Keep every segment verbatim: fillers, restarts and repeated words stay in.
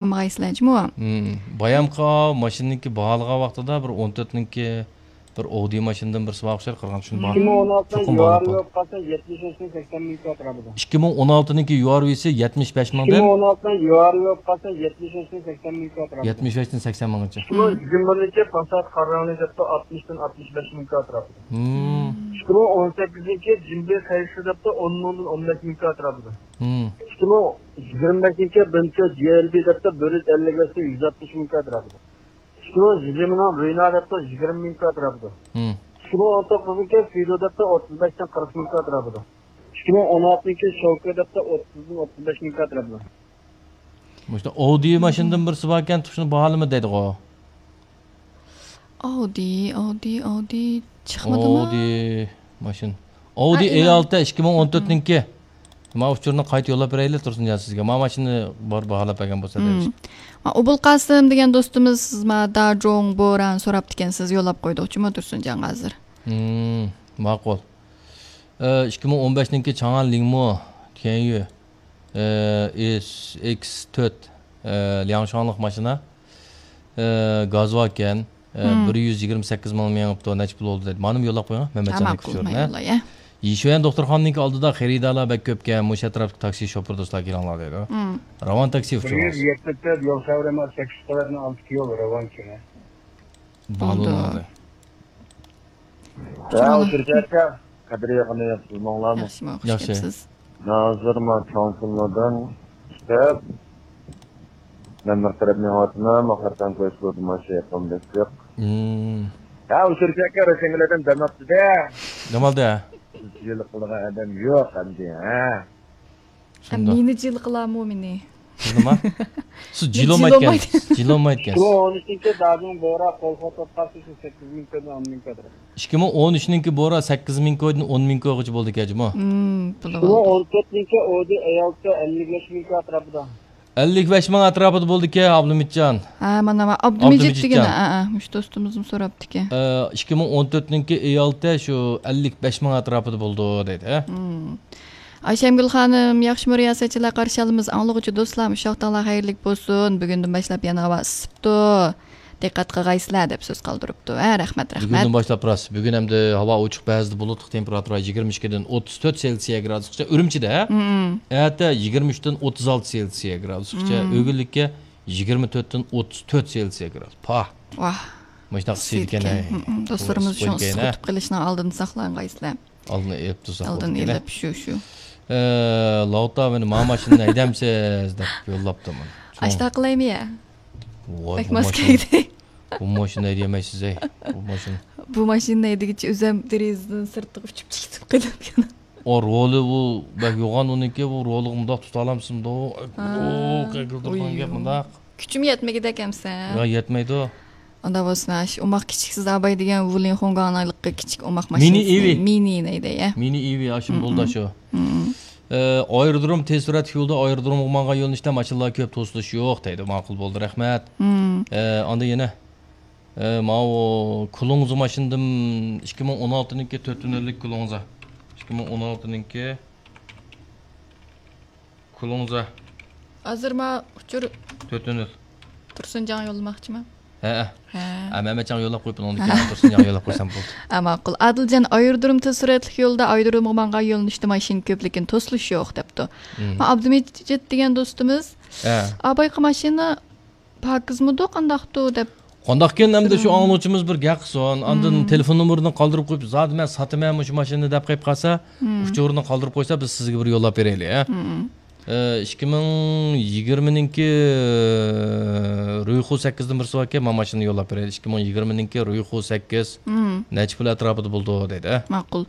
ئالمىغايسىلەر جۇمۇ. بايامقى ماشىنىنىڭكى باھالىغان ۋاقتىدا بىر ئون تۆتنىڭكى بىر ئودى ماشىنىدىن بىرسى بار ئوخشايدۇ، قىرغان چۈشۈن بار. ئىككى مىڭ ئون ئالتىنىڭ يۇئارى يوق قالسا، يەتمىش بەشتىن سەكسەن مىڭ كىلو ئەتراپىدا. ئىككى مىڭ ئون ئالتىنىڭكى يۇئارى ۋىسى يەتمىش بەش مىڭ دەپ. ئىككى مىڭ ئون ئالتىنىڭ يۇئارى يوق قالسا، يەتمىش بەشتىن سەكسەن مىڭ كىلو ئەتراپىدا. يەتمىش بەشتىن سەكسەن مىڭغىچە. ئىككى مىڭ يىگىرمىنىڭكى پاسات قارا رەڭلىك دەپتۇ، ئاتمىشتىن ئاتمىش بەش مىڭ كىلو ئەتراپىدا. ئىككى مىڭ ئون سەككىزىنچى جىمبى خەيسى دەپتۇ، ئون مىڭدىن ئون بەش مىڭ كىلو ئەتراپىدا. ئىككى مىڭ يىگىرمە بەشىنچى بىنتو جي ئېل بى دەپتۇ، بىر يۈز ئەللىك بەشتىن يۈز ئاتمىش مىڭ كىلو ئەتراپىدا. ئىككى مىڭ يىگىرمىنىڭ رۇينا دەپتۇ، يىگىرمە مىڭ كىلو ئەتراپىدا. ئىككى مىڭ ئون توققۇزىنچى فىدو دەپتۇ، ئوتتۇز بەشتىن قىرىق مىڭ كىلو ئەتراپىدا. ئىككى مىڭ ئون ئالتىنچى شوكى دەپتۇ، ئوتتۇزدىن ئوتتۇز بەش مىڭ كىلو ئەتراپىدا. مۇشۇ ئودى ماشىنىدىن بىرسى باركەن، تۇشۇنۇپ باھالىما دەيدىغۇ. ئاۋدى، ئاۋدى، ئاۋدى چىقمىدىمۇ؟ ئاۋدى ماشىنا. ئاۋدى ھە، ئېي ئالتە ئىككى مىڭ ئون تۆتنىڭكى. ما ئۇچۇرنى قايتا يوللاپ بېرەيلى، تۇرسۇنجان، سىزگە. ما ماشىنىنى بار باھالاپ بەرگەن بولسا دەيمىز. ما ئوبۇلقاسىم دېگەن دوستىمىز، سىز ما داجوڭ بوران سوراپتىكەنسىز، يوللاپ قويدۇقچۇ ما تۇرسۇنجانغا ھازىر. ماقۇل. ئىككى مىڭ ئون بەشنىڭكى چاڭئان لىڭمۇ تيەنيۈ، ئېس ئېكس تۆت، لياڭشۇاڭلىق ماشىنا، گازۋاكەن، بىر يۈز يىگىرمە سەككىز مىڭ مېڭىپتۇ، نەچچە پۇل بولدى دەيدۇ. مانىمۇ يوللاپ قويۇڭ، مەمەتجاننىڭ ئۇچۇرىنى. يىشۈەن دوختۇرخانىنىڭكى ئالدىدا خېرىدارلار بەك كۆپكەن، مۇشۇ ئەتراپتىكى تاكسى شوپۇر دوستلار كېلىڭلار دەيدۇ. راۋان تاكسى ئۇچۇرىڭىز. بىر يۈز يەتمىش تۆت يول خەۋىرى، سەككىز قەۋەتنىڭ ئالدىدىكى يول راۋان كېمە. بولدى. ھە، ئۇچۇرچى ئاكا، قەدىر يېقىنى ياخشى، بىلمەڭلارمۇ؟ ياخشىمۇ، خۇش كەپسىز. ھازىر ما چوڭ كۈنلەردىن چىقىپ، مەن بىر تەرەپنى ئاۋاتىمەن، ماقارتان كويسىلىدىن ماشىنا يېقىن بېسىق. ھە، ئۇچۇرچى ئاكا، رەسەنگىلەردىن دەم ئاپتۇ-دە. دەم ئالدى. سىز جىلە قىلىدىغان ئادەم يوق ئەمدى، ھە؟ شۇنداق. مېنى جىلە قىلامۇ مېنى؟ نېمە؟ سىز جىلولمايدىكەنسىز. جىلولمايدىكەنسىز. ئىككى مىڭ ئون ئۈچىنچى داجىڭ بورا قول خوتۇپ قالسا، شۇ سەككىز مىڭ كويدىن ئون مىڭ كوي. ئىككى مىڭ ئون ئۈچنىڭكى بورا سەككىز مىڭ كويدىن ئون مىڭ كويغىچە بولدىكەن جۇمۇ. ئىككى مىڭ ئون تۆتنىڭكى ئودى ئەيالتە ئەللىك بەش مىڭ كوي ئەتراپىدا. ئەللىك بەش مىڭ ئەتراپىدا بولدىكەن، ئابلىمىتجان. ھە، مانا، ئابدۇمىجىت دېگەن، ھە، ھە، مۇشۇ دوستىمىزمۇ سوراپتىكەن. ئىككى مىڭ ئون تۆتنىڭكى ئەيالتە شۇ ئەللىك بەش مىڭ ئەتراپىدا بولىدۇ دەيدۇ، ھە. ئايشەمگۈل خانىم، ياخشىمۇ رىياسەتچىلەر قارشى ئالىمىز، ئاڭلىغۇچى دوستلار، مۇشۇ ۋاقتىڭلار خەيرلىك بولسۇن. بۈگۈندىن باشلاپ يەنە ھاۋا ئىسسىپتۇ. دىققەت قىلغايسىلەر دەپ سۆز قالدۇرۇپتۇ. ھە، رەھمەت، رەھمەت. بۈگۈندىن باشلاپ راست. بۈگۈن ئەمدى ھاۋا ئوچۇق، بەزىدە بۇلۇتلۇق، تېمپېراتۇرا يىگىرمە ئىككىدىن ئوتتۇز تۆت سېلسىيە گرادۇسقىچە ئۈرۈمچىدە. ئەتە يىگىرمە ئۈچتىن ئوتتۇز ئالتە سېلسىيە گرادۇسقىچە، ئۆگۈنلۈككە يىگىرمە تۆتتىن ئوتتۇز تۆت سېلسىيە گرادۇس. پاھ. ۋاھ. مۇشۇنداق ئىسسىيدىكەن، ھەي. دوستلىرىمىز شۇ ئىسسىق ئۆتۈپ قېلىشنىڭ ئالدىنى ساقلانغايسىلەر. ئالدىنى ئېلىپ تۇرساق بولىدىكەن. ئالدىنى ئېلىپ، شۇ، شۇ. ئە، لاۋۇتا مېنى ما ماشىنىنى ھەيدەمسىز دەپ يوللاپتۇ مانا. ئاشتا قىلايمۇ يا؟ ۋاي، بەك ماس كەلدى. بۇ ماشىنىنى ھەيدىيەلمەيسىز، ئەي. بۇ ماشىنا. بۇ ماشىنىنى ھەيدىگىچە ئۆزەم دېرىزىدىن سىرتىغا ئۇچۇپ چىقىپ قېلىپكەن. ئا، رولى بۇ بەك يوغان ئۇنىڭكى، بۇ رولىغا مۇنداق تۇتالامسىمدۇ؟ ھا. ئۇ، قېقىلدۇرغان گەپ مۇنداق. كۈچۈم يەتمىگۈدەك ئەمسە. يا، يەتمەيدۇ. ئاندا بولسۇن، ئاش، ئوماق كىچىك سىز ئاباي دېگەن ۋۇلىن خۇڭگاڭنىڭ كىچىك ئوماق ماشىنىسى. مىنى ئىۋى. مىنى نەيدە، يا؟ مىنى ئىۋى، ئاشۇ بولدا شۇ. ئە، ئايرودروم تېز سۈرئەتلىك يولدا ئايرودرومغا ماڭغان يۆنىلىشتە ماشىنىلار كۆپ، توسۇلۇش يوق دەيدۇ. ماقۇل بولدى، رەھمەت. ئە، ئاندا يەنە، ئە، ماۋۇ كۇلۇڭزا ماشىنىدىن ئىككى مىڭ ئون ئالتىنىڭكى تۆت تۈنۈللۈك كۇلۇڭزا. ئىككى مىڭ ئون ئالتىنىڭكى كۇلۇڭزا. ھازىر ما ئۇچۇر تۆت تۈنۈل. تۇرسۇنجاڭغا يوللىماقچىمەن. ھەئە. ھە. ھە، مەمەتجانغا يوللاپ قويۇپ، ئۇنىڭدىن كېيىن تۇرسۇنجانغا يوللاپ قويسام بولدى. ھە، ماقۇل. ئادىلجان، ئايرودروم تېز سۈرئەتلىك يولدا ئايرودرومغا ماڭغان يۆنىلىشتە ماشىنا كۆپ، لېكىن توسۇلۇش يوق، دەپتۇ. ما ئابدۇمىجىت دېگەن دوستىمىز، ھە. ئابايقا ماشىنا پاكىزمىدۇ، قانداقتۇ دەپ. قانداقكىن ئەمدى شۇ ئاڭلىغۇچىمىز بىر گەپ قىلسۇن. ئاندىن تېلېفون نومۇرىنى قالدۇرۇپ قويۇپ، زادى مەن ساتىمەن مۇشۇ ماشىنىنى دەپ قېلىپ قالسا، ئۇچۇرىنى قالدۇرۇپ قويسا، بىز سىزگە بىر يوللاپ بېرەيلى، ھە؟ ئىككى مىڭ يىگىرمىنىڭكى رۇيخۇ سەككىزدىن بىرسى باركەن، مانا ماشىنىنى يوللاپ بېرەيلى. ئىككى مىڭ يىگىرمىنىڭكى رۇيخۇ سەككىز نەچچە پۇل ئەتراپىدا بولىدۇ دەيدۇ، ھە؟ ماقۇل.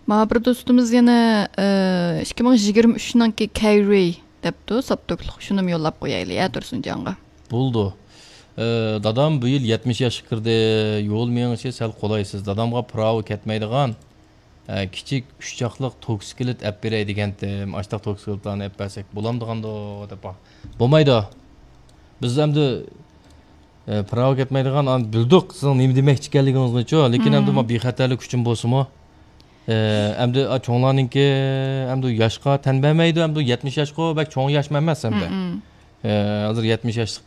مانا بىر دوستىمىز يەنە، ئىككى مىڭ يىگىرمە ئۈچنىڭكى كەيرى دەپتۇ، ساپتوكلۇق. شۇنىمۇ يوللاپ قويايلى، ھە، تۇرسۇنجانغا. بولىدۇ. ئە، دادام بۇ يىل يەتمىش ياشقا كىردى. يول مېڭىشى سەل قولايسىز. دادامغا پىراۋا كەتمەيدىغان، ئە، كىچىك ئۈچ چاقلىق توكسىكلىت ئەپ بېرەي دېگەنتىم. ئاشتاق توكسىكلىتلارنى ئەپ بەرسەك بولامدىغاندۇ دەپ. بولمايدۇ. بىز ئەمدى، ئە، پىراۋا كەتمەيدىغان، ئان بىلدۇق سىزنىڭ نېمە دېمەكچى ئىكەنلىكىڭىزنىچۇ. لېكىن ئەمدى ما بىخەتەرلىك ئۈچۈن بولسىمۇ، ئە، ئەمدى، ئا، چوڭلارنىڭكى ئەمدى ياشقا تەن بەرمەيدۇ. ئەمدى يەتمىش ياشقۇ بەك چوڭ ياشمۇ ئەمەس ئەمدى. ئە، ھازىر يەتمىش ياشلىق